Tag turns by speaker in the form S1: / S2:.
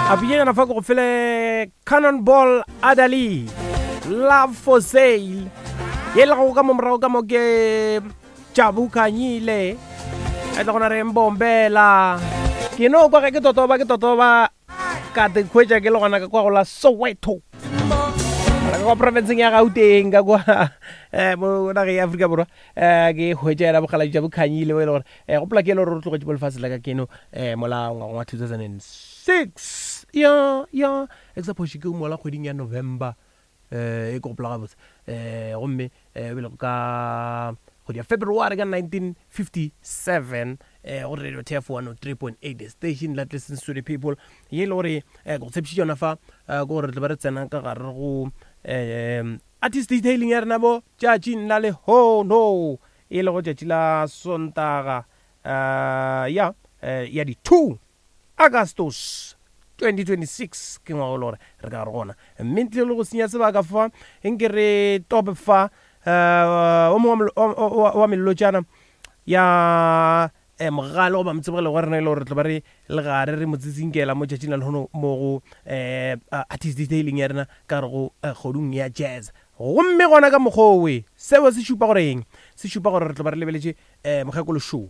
S1: A pinyanyana fa ke go fele Cannonball Adderley, Love for Sale. Ye le go ka mo morago ka mo ke Jabu Khanyile. A tla gona re mbombela. Ke no kwa ge ke totoba ke totoba ka te khwetša ke le gona ka kwa go la Soweto. Ka kwa profenseng ya Gauteng ka kwa eh mo nageng ya Afrika Borwa eh ke hwetša yena bokgaladi Jabu Khanyile bo e le gore Eh, gopola ke e le gore o tlogetše mo lefase la ka keno um mola ngwageng wa 2006 ya ya e ke sa phoše ke mola kgweding ya November um e ke gopola gabotse um gomme um e lego ka kgwedi ya February ka 1957 um go Radio TF 103.8 the station that listens to the people ye e le gore um ke go tshepišitše yona fa um ke gore re tlo ba re tsena ka gare go um artist detailing ya rena mo tšatšing la lehono E lego tšatši la Sontaga ya ya di 2 Agustus 2026 ke ngwaga o le gore re ka gare gona mme ntle le go senya sebaka fa nke re tope fa o mongwe wa melotšana ya mogale goba motsebogele wa rena e le gore re tlo ba re le gare re mo tsitsinkela mo tšatšing la lehono mo go artist detailing ya rena ka gare go kgodung ya jazz. Gomme gona ka mokgwa owe, seo se šupa gore eng? Se šupa gore re tlo ba re lebeletše um mokgekolo šo.